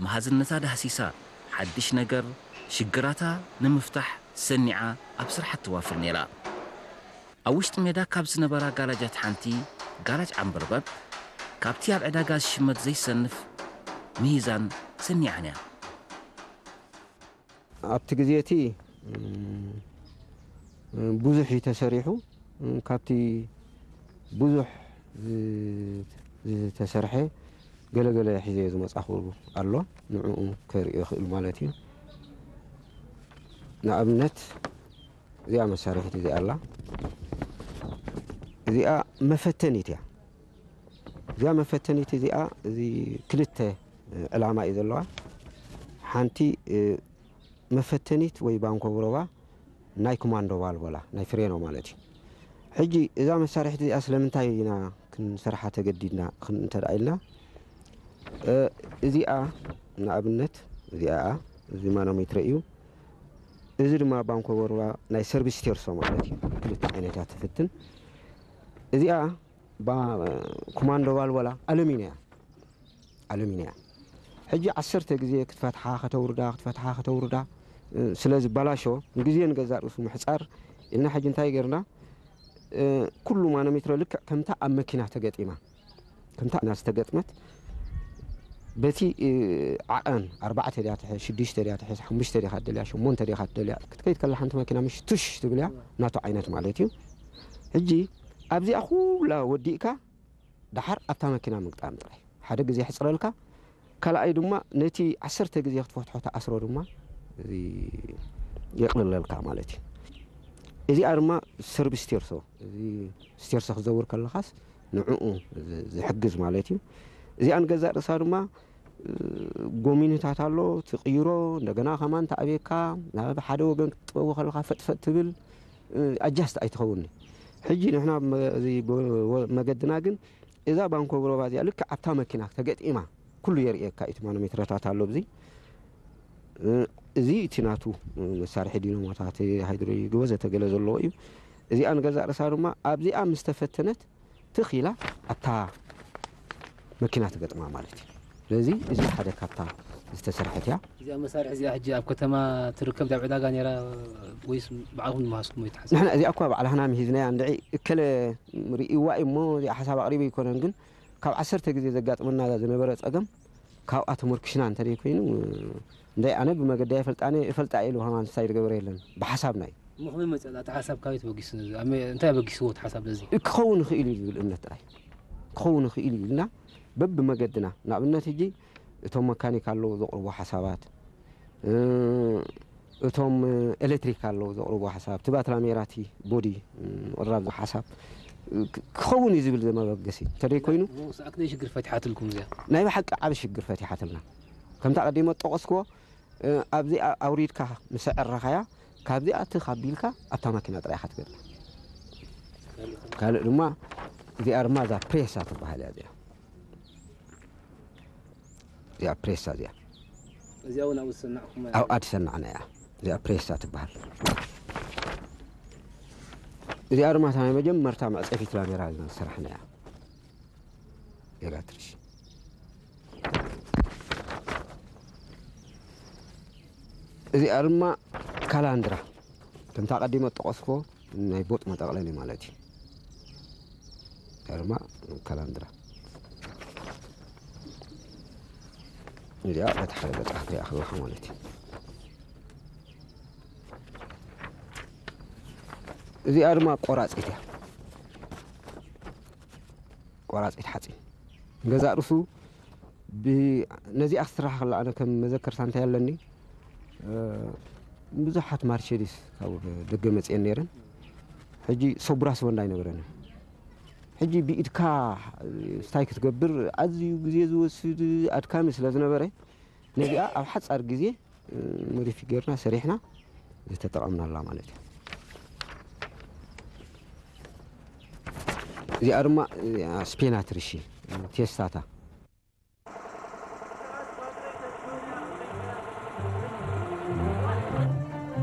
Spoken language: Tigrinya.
መሃዝነታ ዳህሲሳ፣ ሓድሽ ነገር፣ ሽግራታ ንምፍታሕ ሰኒዓ ኣብ ስራሕ ትዋፍር ነይራ። ኣብ ውሽጢ ሜዳ ካብ ዝነበራ ጋራጃት ሓንቲ፣ ጋራጅ ዓምበርበብ፣ ካብቲ ኣብ ዕዳጋ ዝሽመት ዘይሰንፍ ምሂዛን ሰኒዓን እያ። ኣብቲ ግዜ እቲ፣ እም፣ ብዙሕ እዩ ተሰሪሑ። እም፣ ካብቲ ብዙሕ ዝ-፣ ዝተሰርሐ ገለገለ ሒዘ ዝመጻኹ ኣሎ። ንዕኡ ከርእዮ ይኽእል ማለት እዩ። ንኣብነት፣ እዚኣ መሳርሒት እዚኣ ኣላ። እዚኣ መፈተኒት እያ። እዚኣ መፈተኒት እዚኣ፣ እዚ ክልተ ዕላማ እዩ ዘለዋ። ሓንቲ፣ እ፣ መፈተኒት ወይ ባንኮ ብሮባ ናይ ኮማንዶ ባልቦላ፣ ናይ ፍሬኖ ማለት እዩ። ሕጂ እዛ መሳርሒት እዚኣ ስለምንታይ ኢና ክንሰርሓ ተገዲድና ክን-፣ እንተ ደኣ ኢልና፣ እ፣ እዚኣ ንኣብነት እዚኣ፣ እዚ ማኖሜትረ እዩ። እዚ ድማ ባንኮ ብሮባ ናይ ሰርቪስ ቴርሶ ማለት እዩ። ክልተ ዓይነት እያ ትፍትን። እዚኣ ባ-፣ ኮማንዶ ባልቦላ ኣሉሚንያ፣ ኣሉሚንያ። ሕጂ ዓሰርተ ግዜ ክትፈትሓ ከተውርዳ፣ ክትፈትሓ ከተውርዳ፣ እ፣ ስለ ዝበላሾ፣ ንግዜ ንገዛእ ርእሱ ምሕጻር ኢልና ሕጂ እንታይ ጌርና? እ፣ ኩሉ ማኖሜትሮ ልክዕ ከምታ ኣብ መኪና ተገጢማ፣ ከምታ ናብ ዝተገጥመት በቲ፣ እ፣ ዓቐን ኣርባዕተ ድያ ትሕዝ፣ ሽዱሽተ ድያ ትሕዝ፣ ሓሙሽተ ዲኻ ትደልያ፣ ሸሞንተ ዲኻ ትደልያ፣ ክትከይድ ከላ ሓንቲ መኪና ምሽ ቱሽ ትብል እያ፣ ናቱ ዓይነት ማለት እዩ። ሕጂ ኣብዚኣ ኩላ ወዲእካ ደሓር ኣብታ መኪና ምግጣም ጥራይ። ሓደ ግዜ የሕጽረልካ፣ ካልኣይ ድማ ነቲ ዓሰርተ ግዜ ክትፈትሖ ትኣስሮ ድማ እዚ የቕልለልካ ማለት እዩ። እዚኣ ድማ ሰርቪስ ስቴርሶ፣ እዚ ስቴርሶ ክትዘውር ከለኻስ ንዕኡ ዝ-፣ ዝሕግዝ ማለት እዩ። እዚኣ ንገዛእ ርእሳ ድማ፣ እ፣ ጎሚንታት ኣሎ፣ ትቕይሮ፣ እንደገና ከማን ተኣብየካ፣ ናብ ሓደ ወገን ክትጥበቦ ከለኻ ፈጥፈጥ ትብል፣ እ፣ ኣጃስት ኣይትኸውን። ሕጂ ንሕና መ-፣ እዚ ጎ-፣ ወ-፣ መገድና ግን እዛ ባንኮ ብሮባ እዚኣ ልክዕ ኣብታ መኪና ተገጢማ ኩሉ የርእየካ እዩ። እቲ ማኖሜትረታት ኣሎ ኣብዚ። እ፣ እዚ እቲ ናቱ፣ እ፣ መሳርሒ ዲኖሞታት፣ ሃይድሮሊክ ወዘተ ገለ ዘለዎ እዩ። እዚኣ ንገዛእ ርእሳ ድማ ኣብዚኣ ምስ ተፈተነት ትኽ ኢላ ኣብታ መኪና ትገጥማ ማለት እዩ። ስለዚ እዚ ሓደ ካብታ ዝተሰርሐት እያ። እዚኣ መሳርሒ እዚኣ ሕጂ ኣብ ከተማ ትርከብ፣ ኣብ ዕዳጋ ነይራ ወይስ ባዕልኹም ዝመሃዝኩሞ ይትሓዝ? ንሕና እዚኣ እኳ ባዕላህና ምሂዝናያ፣ እንድዒ እከለ ርእይዋ እዩ እሞ እዚኣ ሓሳብ ኣቕሪቡ ኣይኮነን፣ ግን ካብ ዓሰርተ ግዜ ዘጋጥመና ዝነበረ ጸገም ካብኣ ተመርኪሽና እንተ ደይኮይኑ፣ እንዳይ ኣነ ብመገዳይ እፈልጣ እየ፣ እፈልጣ እየ ኢሉ ከማን ሳይድ ገበረ የለን፣ ብሓሳብና እዩ። እሞ ከመይ መጸ? እቲ ሓሳብ ካበይ ተበጊሱ? ነዚ ኣብ መ-፣ እንታይ ኣበጊስዎ እቲ ሓሳብ ነዚ? ክኸውን ይኽእል እዩ ዝብል እምነት ጥራይ። ክኸውን ይኽእል እዩ ኢልና በብመገድና፣ ንኣብነት ሕጂ እቶም መካኒክ ኣለዉ ዘቕርቡ ሓሳባት፣ እ፣ እቶም ኤሌክትሪክ ኣለዉ ዘቕርቡ ሓሳብ፣ እቲ ባትራ ሜራቲ ቦዲ፣ እ፣ ምቕራብ ሓሳብ፣ እ፣ ክ-፣ ክኸውን እዩ ዝብል ዘመበገሲ እንተደይ ኮይኑ፣ እሞ ሰኣክ ናይ ሽግር ፈቲሓትልኩም እዚኣ? ናይ ብሓቂ ዓቢ ሽግር ፈቲሓትልና። ከምታ ቀዲመ ዝጠቐስክዎ፣ እ፣ ኣብዚኣ ኣውሪድካ ምስ ኣዕረኻያ፣ ካብዚኣ ትኽ ኣቢልካ ኣብታ ማኪና ጥራይ ኢኻ ትገጥማ። ካልእ ድማ እዚኣ ድማ እዛ ፕሬሳ ትበሃል እያ እዚኣ። እዚኣ ፕሬሳ እዚኣ። እዚኣ እውን ኣብኡ ዝሰናዕኹም? ኣብኣ ዝሰናዕና እያ። እዚኣ ፕሬሳ ትበሃል። እዚኣ ድማ እታ ናይ መጀመርታ መዕጸፊት ላሜራ ዝሰራሕና እያ። ኤላትሪሽ። እዚኣ ድማ ካላንድራ፣ ከምታ ቀዲመ ዝጠቐስኩዎ ናይ ቦጥ መጠቕለሊ ማለት እዩ። እዚኣ ድማ ካላንድራ። እዚኣ በቲ ሓደ ገጻ ክትሪኣ ከለኻ ማለት እዩ። እዚኣ ድማ ቆራጺት እያ። ቆራጺት ሓጺን። ገዛእ ርእሱ ብ-፣ ነዚኣ ክትስራሕ ከላ ኣነ ከም መዘከርታ እንታይ ኣለኒ፣ እ፣ ብዙሓት ማርቸዲስ ካብ ደገ መጺኤን ነይረን። ሕጂ ሰቡራስ ወንዳ ኣይነበረን። ሕጂ ብኢድካ ስታይ ክትገብር ኣዝዩ ግዜ ዝወስድ ኣድካሚ ስለ ዝነበረ፣ ነዚኣ ኣብ ሓጻር ግዜ፣ እ፣ ሞዲፊ ጌርና ሰሪሕና ዝተጠቐምናላ ማለት እዩ። እዚኣ ድማ፣ እዚኣ ስፔናትር፣ እሺ፣ ቴስታታ።